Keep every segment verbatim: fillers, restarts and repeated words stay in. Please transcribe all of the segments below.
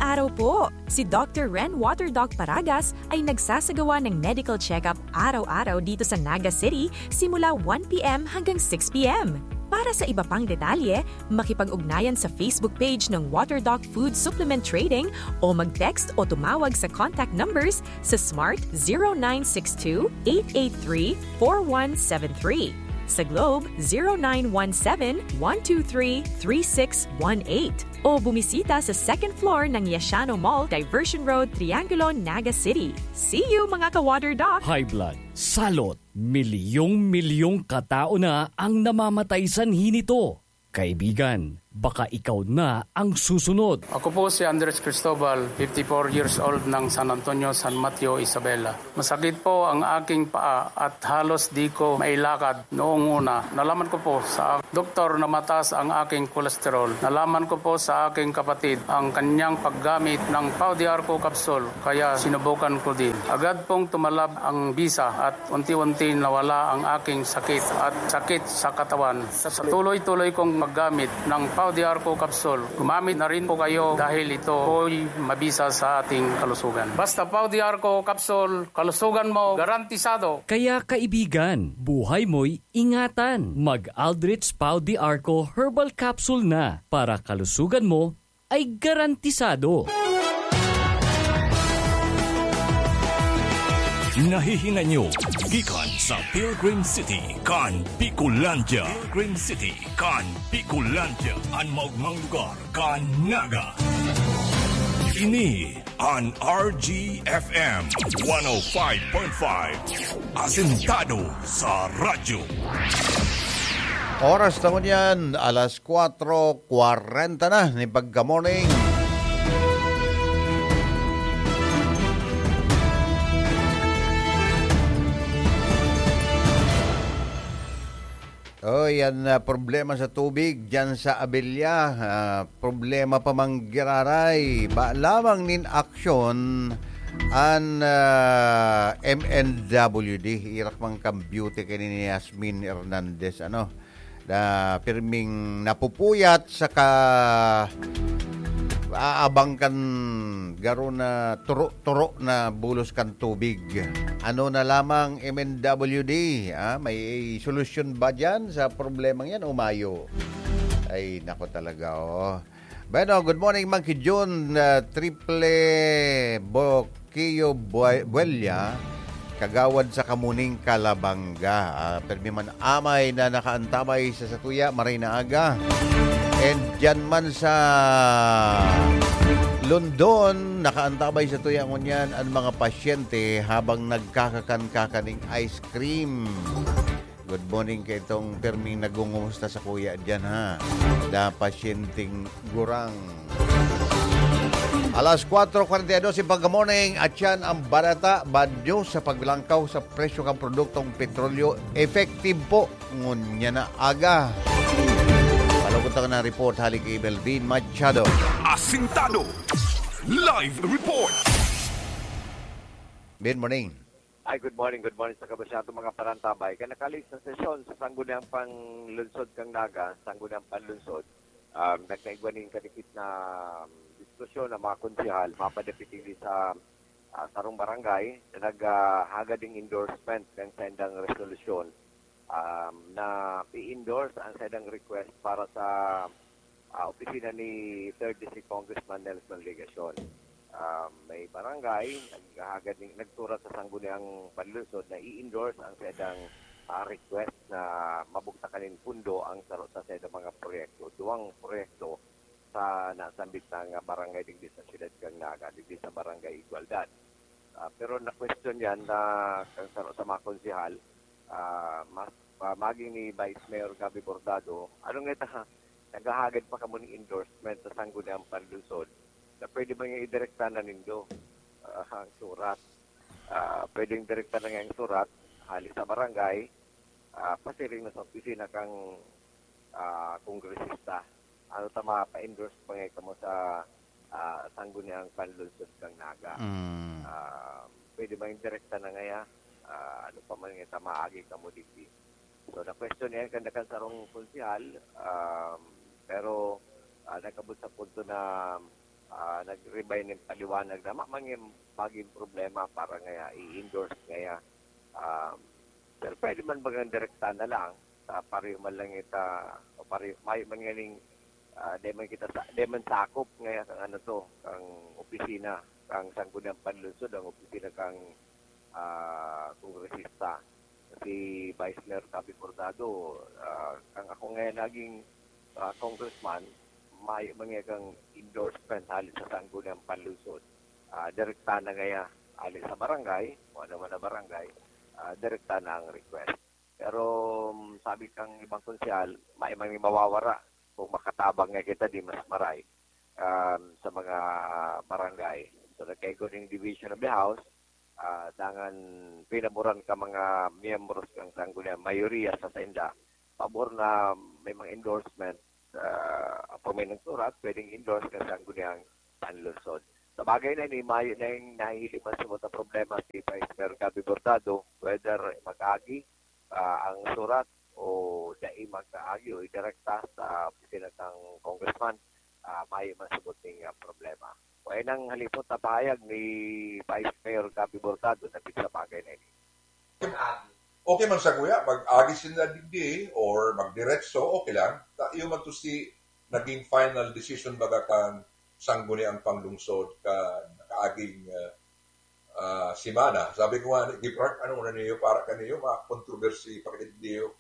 Araw po! Si Doctor Ren Water Doc Paragas ay nagsasagawa ng medical check-up araw-araw dito sa Naga City simula one p m hanggang six p m. Para sa iba pang detalye, makipag-ugnayan sa Facebook page ng Water Doc Food Supplement Trading o mag-text o tumawag sa contact numbers sa Smart zero nine six two, eight eight three, four one seven three. Sa Globe, zero nine one seven, one two three, three six one eight. O bumisita sa second floor ng Yashano Mall, Diversion Road, Triangulo, Naga City. See you, mga ka-Water Doc! High blood, salot, milyong-milyong katao na ang namamatay sanhi nito. Kaibigan, baka ikaw na ang susunod. Ako po si Andres Cristobal, fifty-four years old ng San Antonio, San Mateo, Isabela. Masakit po ang aking paa at halos di ko mailakad noong una. Nalaman ko po sa doktor na mataas ang aking kolesterol. Nalaman ko po sa aking kapatid ang kanyang paggamit ng Pau de Arco capsule, kaya sinubukan ko din. Agad pong tumalab ang bisa at unti-unti nawala ang aking sakit at sakit sa katawan. Sa tuloy-tuloy kong paggamit ng Pau de Arco capsule, gumamit na rin po kayo dahil ito po'y mabisa sa ating kalusugan. Basta Pau de Arco capsule, kalusugan mo garantisado. Kaya kaibigan, buhay mo'y ingatan. Mag Aldrich Pau de Arco Herbal Capsule na para kalusugan mo ay garantisado. Nahihinay nyo gikan sa Pilgrim City kan Bicolandia. Pilgrim City kan Bicolandia, an maogmang lugar kan Naga. Ini an R G F M one oh five point five, asentado sa radyo. Oras na ngunyan, alas kwatro kwarenta na nin pagka-morning. Oh, yan, ah, problema sa tubig diyan sa Abella. Ah, problema pa man giraray. Ba lamang nin aksyon an, ah, M N W D. Irak man kan beauty kini ni Yasmin Hernandez, ano, na pirming napupuyat saka aabang kan garo na turo-turo na bulos kan tubig. Ano na lamang, M N W D, ah, may solusyon ba diyan sa problemang yan o mayo? Ay, nako talaga, oh. Bueno, good morning, Monkey Jun, ah, Triple Boquillo Bue-, Buella, kagawad sa Kamuning, Calabanga. Ah, pirmi man amay na nakaantabay sa satuya, maray na aga. And diyan man sa London, nakaantabay satuya ngunyan an mga pasyente habang nagkakakan-kakan ning ice cream. Good morning kay itong pirming nagungumusta sa kuya diyan, ha. Da pasyenteng gurang. Alas kwatro kwarenta y dos in pagka-morning, at yan ang balita, bad news sa paglangkaw sa presyo kan produktong petrolyo. Effective po ngunyan na aga. Palugod ta na report hali ki Melvin Machado. Asintado. Live report. Good morning. Ay, good morning, good morning sa kabasyato mga parantabay. Kan nakalis na sesyon sa Sangguniang Panlunsod kan Naga, Sangguniang Panlunsod, um, nagkaigwa nin kadikit na, um, diskusyon ang mga konsehal, mapadapit digdi sa, ah, sarong barangay na naghahagad ning endorsement kan saindang resolusyon, um, na i-endorse ang saindang request para sa, ah, opisina ni third District Congressman Nelson Legacion. Ah, may barangay naghahagad ning, nagsurat sa Sangguniang Panlunsod na i-endorse ang saindang, ah, request na mabugtakan nin pundo ang saro sa saindang mga proyekto. Duwang proyekto sa nasambit na nga barangay digdi sa siyudad kan Naga, digdi sa Barangay Igualdad. Ah, pero na-question yan na kan saro sa mga konsehal, ah, mas, ah, maging ni Vice Mayor Gabby Bordado, ano nga ita, naghahagad pa kamo ning endorsement sa Sangguniang Panlunsod na pwede man nga idirekta na nindo, ah, ang surat. Ah, pwedeng direkta na nga ang surat, hali sa barangay, ah, pasiring na sa opisina kang, ah, kongresista. Ano ta, mapa-endorse pa nga kamo sa, ah, Sangguniang Panlunsod kang Naga. Mm. Ah, pwede man direkta na ngaya, ah, ano pa man nga ta maagi kamo digdi. So, na-question yan kan, kan sarong konsehal, um, pero, ah, nagkabot sa punto na, ah, Nag-ribay nin paliwanag na ma-, mangin magin problema para ngaya i-endorse ngaya. Um, pero pwede man bagang direkta na lang, sa pareho man lang ita, o pareho, mayo man nganing, ah, di man kita sa, di man sakop ngaya kang ano to, kang opisina, kang Sangguniang Panlungsod, ang opisina kang, ah, kongresista. Si Vice Mayor Gabby Bordado, ah, kang ako ngayon naging, ah, congressman, mayo man ngaya kang endorsement hali sa Sangguniang Panlungsod. Ah, direkta na ngaya, hali sa barangay, o ano man na barangay, ah, direkta na ang request. Pero, um, sabi kang ibang konsehal, mayo man mawawara kung makatabang nga kita di mas maray, um, sa mga barangay. So, nagkaigo ning division of the house, ah, dangan pinaboran ka mga miyembros kang Sangguniang, mayoriya sa sainda, pabor na may mga endorsement, ah, pag may nagsurat, pwedeng endorse kang Sangguniang Panlungsod. Sa bagay na ini, mayo na yung nahihiling man sa mga problema si Vice Mayor Gabby Bordado, whether mag-agi, ah, ang surat o dai mag-agi o idirekta sa opisina ng congressman, ah, mayo man sa buting, ah, problema. O ay nang halipot na pahayag ni Vice Mayor Gabby Bordado na sa bagay na ini. Okay man sa kuya, mag-agi sinda digdi or magdiretso, okay lang. Ta-, iyo man to si naging final decision baga kan Sangguniang Panlungsod kan nakaaging, ah, ah, semana. Sabi ko nga, "Gibrard, ano na niyo, para kaniyo, mga controversy, pagkadiyo."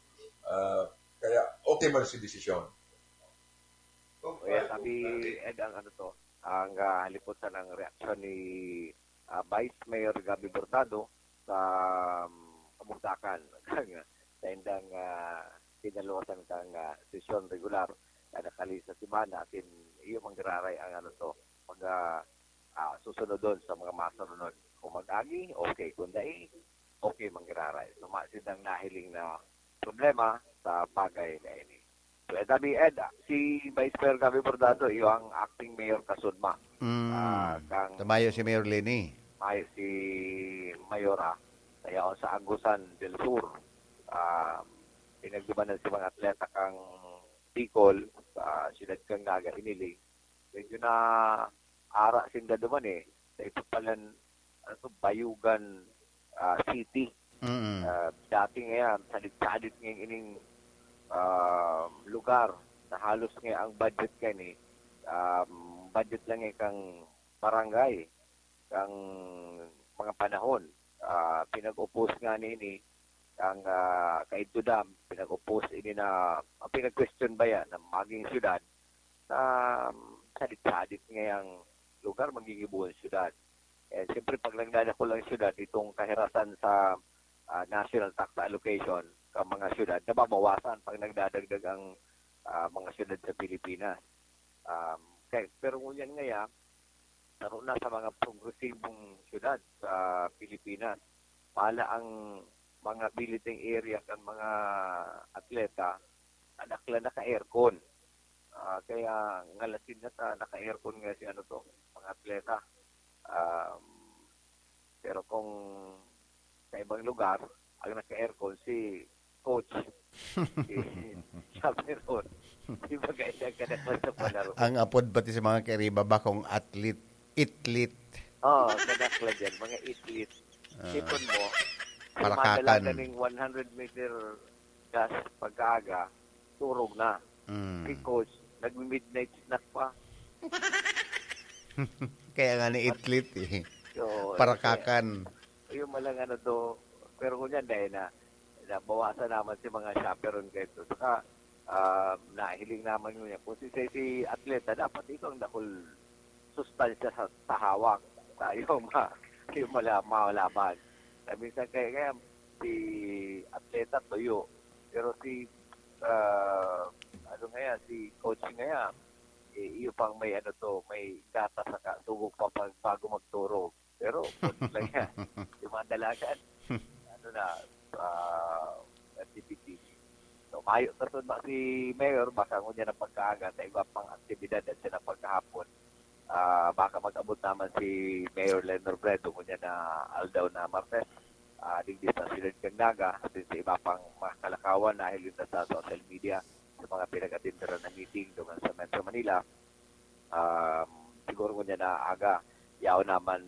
Ah, kaya okay man si desisyon. Kaya sabi, Ed, ang ano to, ang, ah, halipot sa nang reaksyon ni, ah, Vice Mayor Gabby Bordado sa, um, kabugtakan sa indang, ah, kinaluwasan kang, ah, sesyon regular kada kali sa semana, asin iyo manggiraray ang ano to, pag, ah, ah, susunodon sa mga masunod. Kung mag-agi, okay. Kung dai, okay manggiraray. So, mayo sindang nahiling na problema sa bagay na ini. So, Ed, abi, Ed, ah, si Vice Mayor Gabby Bordado, iyo ang acting mayor kasudma. Mm. Ah, kang Tamayo si Mayor Leni. Mayo si Mayora. Kaya sa Agusan del Sur, ah, pinagdumanan si mga atleta kang Bicol, sa siyudad kang Naga, hiniling. Medyo na ara sinda duman eh. Sa ito palan, ano to, Bayugan, ah, City. Mm. Ah, dati nga yan, sadit-sadit nga ining, ah, lugar na halos nga ang budget kani, um, budget lang nga kang barangay, kang mga panahon. Ah, pinag-upos nga nini, ang, ah, kaidto dam, pinag-upos ini na, ang pinag-question ba yan, na maging syudad, na, um, sadit-sadit nga yung lugar, maggigibuhon syudad. Eh, siyempre, pag nagdadakol ang syudad, itong kahirasan sa, ah, national tax allocation, sa mga syudad, nababawasan pag nagdadagdag ang, ah, mga syudad sa Pilipinas. Um, kaya, pero ngunyan ngaya, saro na sa mga progresibong syudad sa Pilipinas. Pala ang mga billeting area kan mga atleta, nadaklan na ka-aircon. Ah, kaya ngalasin na ta, naka-aircon nga si ano to, mga atleta. Um, pero kung sa ibang lugar, ang naka-aircon si coach, si chaperon. Di ba kaya siya kadaklan sa palaro? Ang apod pati sa mga kairiba, bakong athlete, itlit. Oo, kadaklan dyan, mga itlit. Ah. Sipon mo, Parakakan. Madala ka ning one hundred meter dash pagkaaga, turog na. Mm. Si coach, nagmi-midnight snack pa. Kaya nga ni itlit eh. Oo, Parakakan. Kaya, yung malang ano to, pero ngunyan dahil na, nabawasan naman si mga chaperon kayo to. Saka, ah, nahiling naman ngunyan. Kung si, si, si atleta, dapat ito ang dakul sustansya sa, sa hawak. Sa yung ma-, yung mala-, malaban. Na minsan kaya, kaya si atleta tuyo. Pero si, ah, ano nga yan, si coach nga yan, eh, iyo pang may ano to, may gata sa ka-, tugog pa pag, bago magturog. Pero, kung lang yan, yung mga dalagan, ano na, ah, activity. So, mayo na sunod si Mayor, baka ngunyan na pagkaaga, sa iba pang aktibidad at siya na pagkahapon. Ah, baka mag-abot naman si Mayor Len Robredo, ngunyan na aldaw na Martes. Ah, digdi sa Siyudad kan Naga, asin sa iba pang mga kalakawan, nahiling na sa social media, sa mga pinag-atenderan na meeting, doon sa Metro Manila. Um, siguro kung Yan na aga. Yaon naman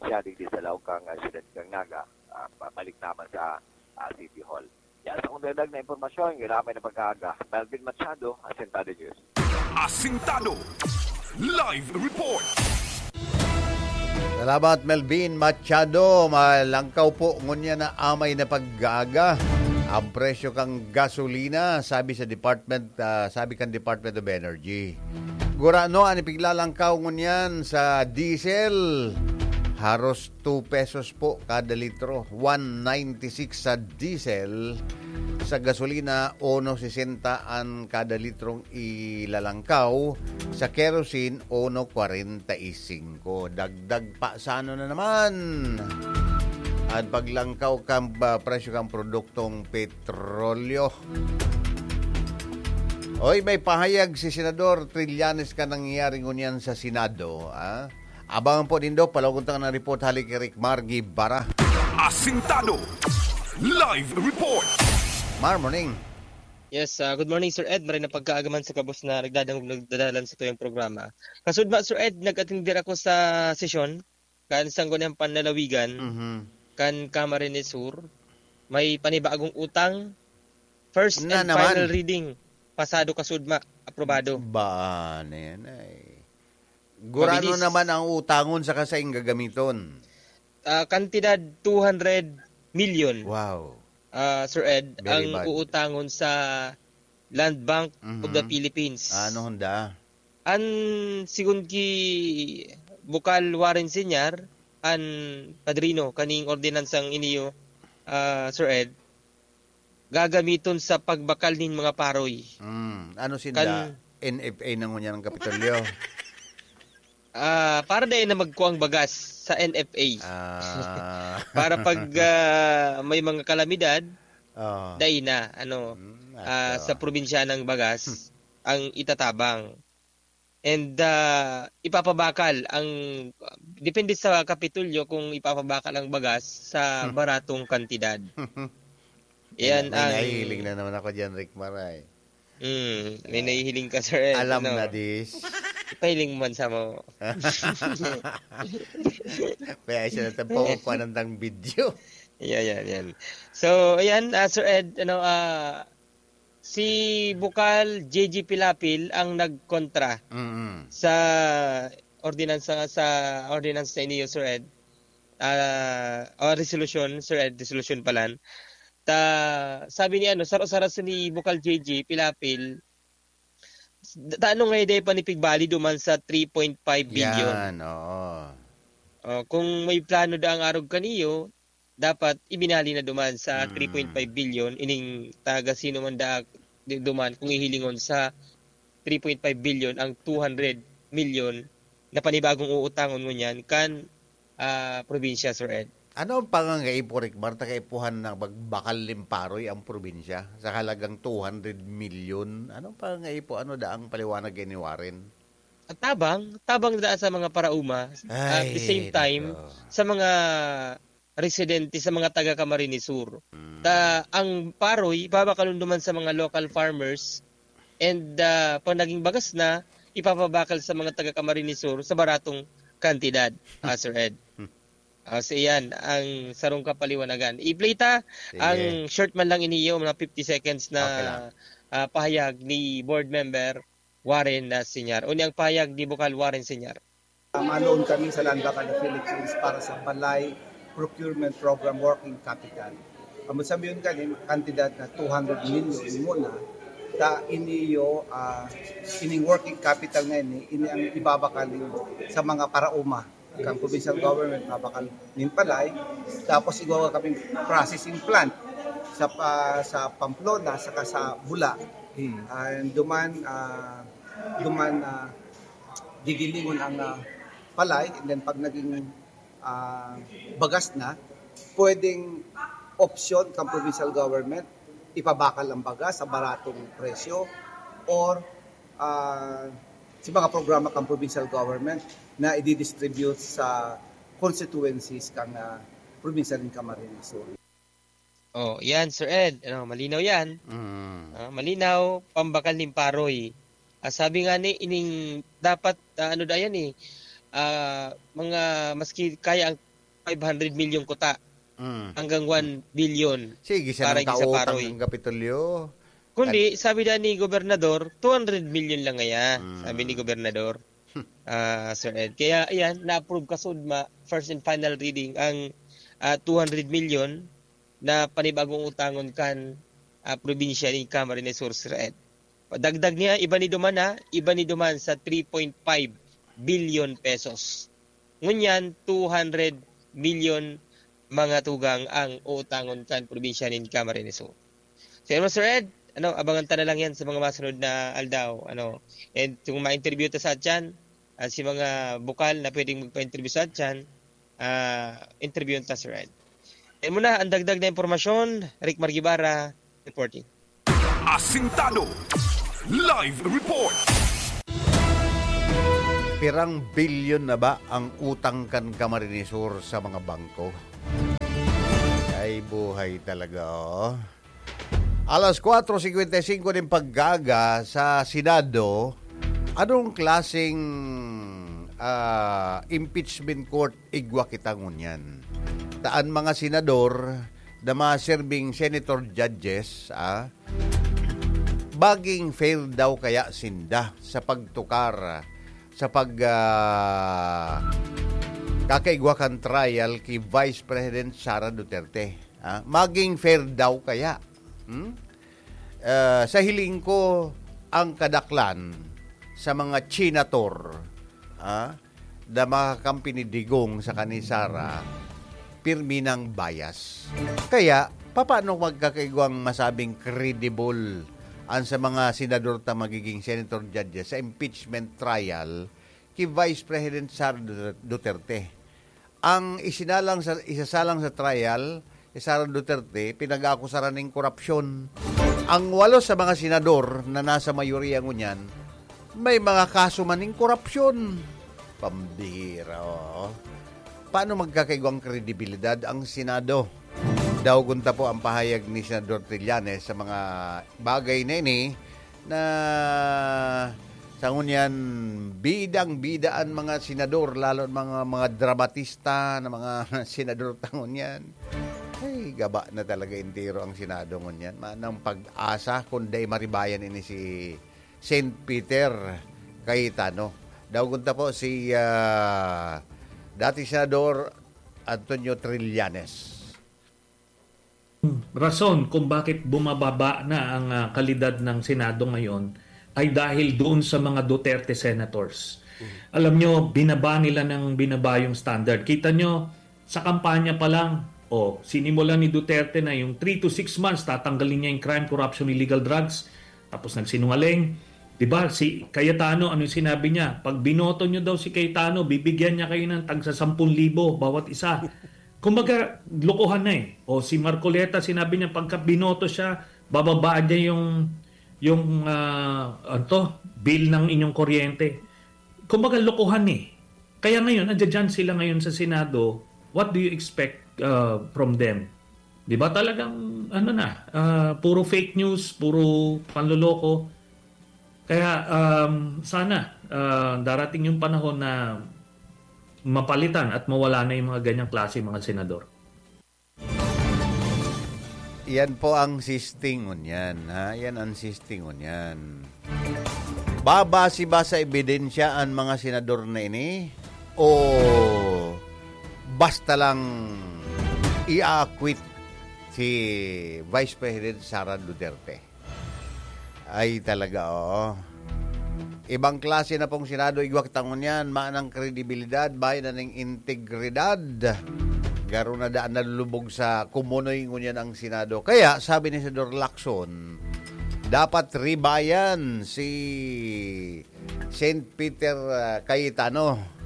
siya digdi sa laog kan, ah, siyudad kan Naga. Ah, pabalik naman sa, ah, City Hall. Yan sa kong dagdag na impormasyon, giraray na pagkaaga. Melvin Machado, Asintado News. Asintado. Live report. Salamat, Melvin Machado. Malangkaw po ngunyan na amay na pag-aaga ang presyo kan gasolina, sabi sa department, ah, sabi kan Department of Energy. Gurano an ipiglalangkaw ngunyan sa diesel? Haros two pesos po kada litro, one ninety-six sa diesel. Sa gasolina, uno sesenta an kada litrong ilalangkaw. Sa kerosene, uno kwarenta y singko. Dagdag pa sa ano na naman? At paglangkaw kan, ah, presyo kan produktong petrolyo. Oy, may pahayag si Senador Trillanes kan nangyayari ngunyan sa Senado, ah. Abangan po nindo, palawagon ta ang report hali ki Rick Mar Guevara. Asintado. Live report. Mar, morning. Yes, ah, good morning, Sir Ed. Maray na pagkaaga man sa gabos na nagdadangog, nagdadalan sa tuyang programa. Kasudma, Sir Ed, nag-attend ako sa sesyon kan Sangguniang Panlalawigan, Mhm. kan Camarines Sur. May panibagong utang, first Na and naman. final reading, pasado kasudma, aprobado. Ba, ano yan ay? Gurano Mabilis. naman ang utangon saka saing gagamiton? Ah, kantidad two hundred million. Wow. Ah, Sir Ed, Very ang bad. uutangon sa Land Bank of the Mhm. Philippines. Ah, ano handa? An sigon ki Bukal Warren Senior, an padrino kaning ordinansang iniyo, ah, Sir Ed, gagamiton sa pagbakal nin mga paroy. Mm, ano sinda? Kan N F A na ngunyan ang Kapitolyo? Ah, para dai na magkuang bagas sa N F A. Ah. Para pag, ah, may mga kalamidad, Oo. dai na, ano, Mm, ah, ato. sa probinsya ng bagas Hmm. ang itatabang. And, ah, ipapabakal ang, depende sa Kapitolyo kung ipapabakal ang bagas sa Hmm. baratong kantidad. Yan Yan, may ang nahihiling na naman ako diyan, Rick Maray. Mm, may Ah, nahihiling ka, sir, eh, alam ano? na this. Ipahiling mo man sa mo. Kaya siya na tayo, pakukuha ng tang video. Yan, yan, yan. So, ayan, ah, Sir Ed, ano, ah, si Bukal J J Pilapil ang nagkontra Mm. sa ordinansa, sa ordinansa sa inyo, Sir Ed. Ah, o resolusyon, Sir Ed, resolusyon pala. Ta, sabi ni ano, saro-saraso ni Bukal J J Pilapil, "Tano nga dai pa ni pigbali duman sa three point five billion?" Yan, oo. Oh, kung may plano da ang arog kaniyo, dapat ibinali na duman sa Mm. three point five billion, ining taga sino man da, di duman, kung hihilingon sa three point five billion ang two hundred million na panibagong uutangon ngunyan kan, ah, probinsya, Sir Ed. Ano ang pangangaipo, Rick Mar, ta kaipuhan na magbakal nin paroy ang probinsya sa halagang two hundred million? Ano ang pangangaipo? Ano da ang paliwanag ni Warren? At tabang, tabang da sa mga parauma, at the Ay, same time, nako. sa mga residente, sa mga taga Camarines Sur. Mm. Ta, ang paroy, babakalon duman sa mga local farmers, and, ah, pag naging bagas na, ipapabakal sa mga taga Camarines Sur sa baratong kantidad, ah, Sir Ed. Hmm. Ah, so iyan ang sarong kapaliwanagan. I-play ta Sige. ang short man lang iniyo, mga fifty seconds na, Okay lang. ah, pahayag ni Board Member Warren na Senior. Uni ang pahayag ni Bukal Warren Senior. Manoon kami sa Land Bank of the Philippines para sa Balay Procurement Program Working Capital. Ang sabihin kani, kantidad na two hundred million muna, ta iniyo, ah, ining working capital na ini, ini ang ibabakal sa mga parauma. Kan provincial government, babakal nin palay. Tapos igawa kami processing plant sa pa-, sa Pamplona, saka sa Bula. Hmm. And duman, ah, duman, ah, gigilingon ang, ah, palay, and then pag naging, ah, bagas na, pwedeng opsyon kan provincial government, ipabakal ang bagas sa baratong presyo, or, ah, sa mga programa kan provincial government na i-distribute sa constituencies kan, ah, probinsya nin Camarines Sur. Oh, yan, Sir Ed. Ano, malinaw yan. Mm. Ah, malinaw, pambakal nin paroy. Ah, sabi nga ni, ining dapat, ah, ano da yan eh, ah, mga maski kaya ang five hundred milyon kuta, Mm. hanggang one billion Sige, siya para nang igin sa kautang paroy. Ang Kapitolyo. Kundi, Kan- sabi na ni Gobernador, two hundred milyon lang ngaya, Mm. sabi ni Gobernador, Hmm. ah, Sir Ed. Kaya, ayan, na-approve ka sudma, first and final reading, ang, ah, two hundred milyon na panibagong utangon kan, ah, probinsya ni Camarines Sur, Sir Ed. Dagdag niya, iba ni duman, ha? Iba ni duman sa three point five billion pesos. Ngunyan, two hundred milyon mga tugang ang uutangon kan probinsya nin Camarines Sur. So, yun, Sir Ed, ano, abangan ta na lang yan sa mga masunod na aldaw. Ano, and kung ma-interview ta sa atyan, ah, si mga bukal na pwedeng magpa-interview sa atyan, ah, interviewon ta, Sir Ed. Yan muna ang dagdag na impormasyon. Rick Margibara, reporting. Asintado. Live report. Pirang bilyon na ba ang utang kan Camarines Sur sa mga bangko? Ay, buhay talaga, oh. Alas kwatro singkwenta y singko nin pagkaaga sa Senado, anong klaseng, ah, impeachment court igwa kita ngunyan? Ta an mga senador na maserbing senator judges, ah, maging fair daw kaya sinda sa pagtukar, sa pag, ah, kakaigwa kan trial ki Vice President Sara Duterte? Ah, maging fair daw kaya? Hmm? Ah, sa hiling ko, ang kadaklan sa mga senator, ah, na makakampi ni Digong saka ni Sara, pirmi nang bias. Kaya, papaano magkakaigwang masabing credible an sa mga senador ta magiging senator judges sa impeachment trial ki Vice President Sara Duterte? Ang isinalang sa, isasalang sa trial, si Sara Duterte, pinag-aakusaran nin korupsyon. Ang walo sa mga senador na nasa mayoriya ngunyan, may mga kaso man nin korupsyon. Pambihira, oo. Paano magkakaigwang kredibilidad ang Senado? Daogon ta po ang pahayag ni Senador Trillanes sa mga bagay na ini na sa ngunyan, bidang-bida an mga senador, lalo an mga, mga dramatista na mga senador ta ngunyan. Ay, gaba na talaga entero ang Senado ngunyan. Manang pag-asa kung dai maribayan ini si Saint Peter Cayetano. Daogon ta po si, ah, dating Senador Antonio Trillanes. Rason kung bakit bumababa na ang, ah, kalidad ng Senado ngayon ay dahil doon sa mga Duterte senators. Mhm. Alam nyo, binaba nila ng binaba yung standard. Kita nyo, sa kampanya pa lang, oh, sinimulan ni Duterte na yung three to six months, tatanggalin niya yung crime, corruption, illegal drugs. Tapos nagsinungaling. Di ba? Si Cayetano, ano yung sinabi niya? Pag binoto nyo daw si Cayetano, bibigyan niya kayo ng tagsa sampung libo bawat isa. Kumbaga, lokohan na eh. O si Marcoleta, sinabi niya, pagka binoto siya, bababa niya yung, yung, ah, ano to, bill ng inyong kuryente. Kumbaga, lokohan eh. Kaya ngayon, nandiyan sila ngayon sa Senado. What do you expect, ah, from them? Di ba talagang, ano na, ah, puro fake news, puro panloloko. Kaya, um, sana, ah, darating yung panahon na mapalitan at mawala na yung mga ganyang klase, mga senador. Yan po ang sisting ngunyan, ha? Yan ang sisting ngunyan. Babase ba sa ebidensya ang mga senador na ini? O basta lang i-acquit si Vice President Sara Duterte? Ay, talaga, oo. Ibang klase na pong Senado, igwa kita ngunyan, manang kredibilidad, bayan na ning integridad. Garo na daan nalulubog sa kumunoy ngunyan ang Senado. Kaya, sabi ni Senador Lacson, dapat ribayan si Saint Peter, ah, Cayetano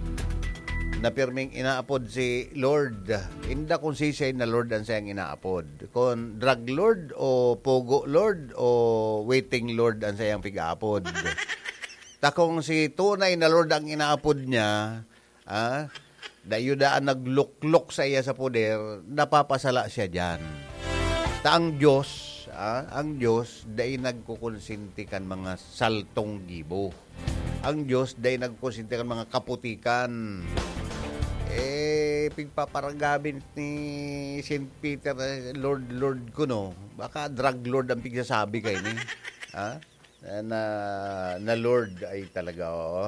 na pirming inaapod si Lord. Inda kung sisay na Lord ang sayang inaapod. Kung drug lord o pogo lord o waiting lord ang sayang pig-aapod. Ta kung si tunay na Lord ang inaapod niya, ah, dayo daan nagluklok sa iya sa poder, napapasala siya diyan. Ta ang Diyos, ah, ang Diyos dai nagkukonsinti kan mga saltong gibo. Ang Diyos dai nagkonsente kan mga kaputikan. Eh, pigpaparagabi ni Saint Peter, eh, "Lord, Lord ko, no?" Baka drug lord ang pigsasabi kaini. Ha? Na, na, na Lord ay talaga, oo.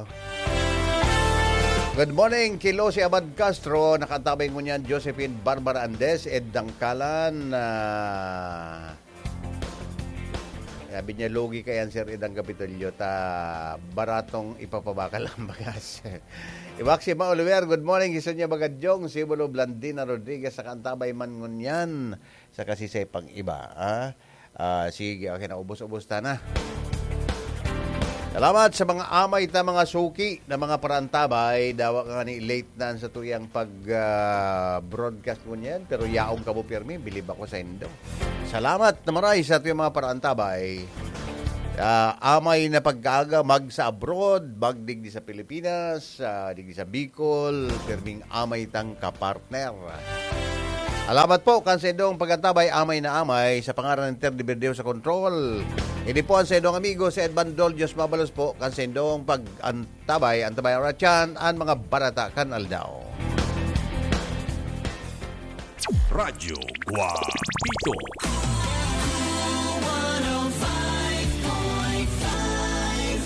Good morning, Kilo si Abad Castro. Nakatabay mo niyan, Josephine Barbara Andes, Ed Dangkalan, ah, sabi niya, "Lugi kayan, Sir Edang Kapitolyo, ta baratong ipapabakal ang bagas." Iwaksi Ma Oliver, good morning. Iso niya Bagadyong, Sibulo Blandina Rodriguez, sa kantabay man ngunyan, sa kasisay pang iba. Ah? Ah, sige, okay na, ubos-ubos ta na. Salamat sa mga amay ta, mga suki na mga paraantabay. Dawa ka nga ni late na sa tuyang pag, ah, broadcast mo niyan, pero yaong kamo pirmi, bilib ako sa indo. Salamat na maray sa tuyang mga paraantabay. Ah, amay na pagkaaga, mag sa abroad, mag digdi sa Pilipinas, ah, digdi sa Bicol, pirming amay tang kapartner. Salamat po kan sa indong pagkatabay, amay na amay, sa pangaran ni Terdy Verdeo sa control. Ini po ang sa indong amigo, si Edman Dol. Diyos mabalos po kan sa indong pag-antabay, antabay oratyan, an mga barata kan aldaw. Radyo Guapito.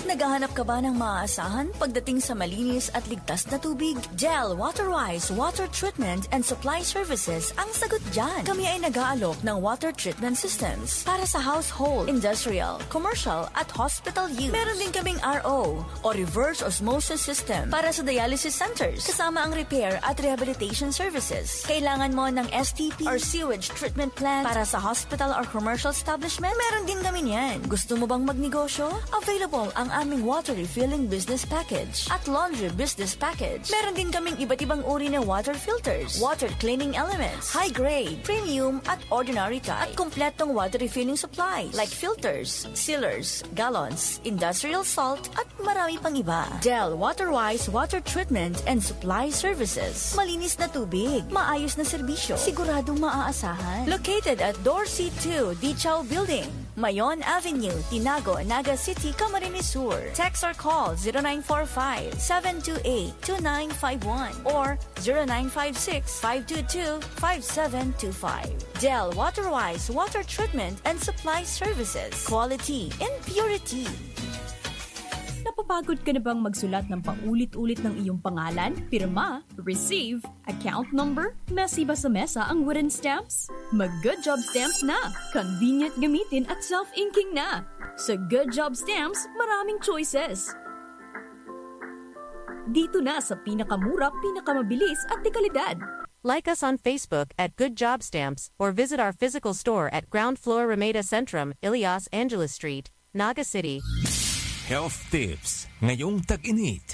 Naghahanap ka ba ng maaasahan pagdating sa malinis at ligtas na tubig? Del Waterwise Water Treatment and Supply Services ang sagot dyan. Kami ay nag-aalok ng water treatment systems para sa household, industrial, commercial, at hospital use. Meron din kaming R O o reverse osmosis system para sa dialysis centers, kasama ang repair at rehabilitation services. Kailangan mo ng S T P or sewage treatment plant para sa hospital or commercial establishment? Meron din kami niyan. Gusto mo bang magnegosyo? Available ang aming water refilling business package at laundry business package. Meron din kaming iba't ibang uri ng water filters, water cleaning elements, high grade, premium at ordinary type, at kompletong water refilling supplies like filters, sealers, gallons, industrial salt, at marami pang iba. Del Waterwise Water Treatment and Supply Services. Malinis na tubig, maayos na serbisyo, siguradong maaasahan. Located at Dorsey two, Dichaw Building, Mayon Avenue, Tinago, Naga City, Camarines Sur. Text or call zero nine four five, seven two eight, two nine five one or zero nine five six, five two two, five seven two five. Del Waterwise Water Treatment and Supply Services. Quality and purity. Napapagod ka na bang magsulat ng paulit-ulit ng iyong pangalan, pirma, receive, account number, mesi ba sa mesa ang wooden stamps? Mag Good Job Stamps na! Convenient gamitin at self-inking na! Sa Good Job Stamps, maraming choices. Dito na sa pinakamura, pinakamabilis at dekalidad. Like us on Facebook at Good Job Stamps or visit our physical store at ground floor Rameda Centrum, Ilias Angeles Street, Naga City. Health tips ngayong tag-init.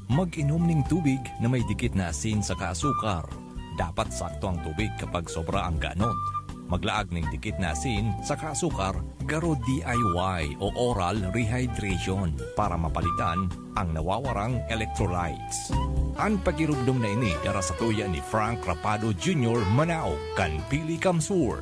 Mag-inom ning tubig na may dikit na asin saka asukar. Dapat sakto ang tubig kapag sobra ang ganot. Maglaag ning dikit na asin saka asukar, garo D I Y o oral rehydration para mapalitan ang nawawarang electrolytes. An pakirugdong na ini dara sa tuya ni Frank Rapado Junior, Manao, kan Pili Kamsur.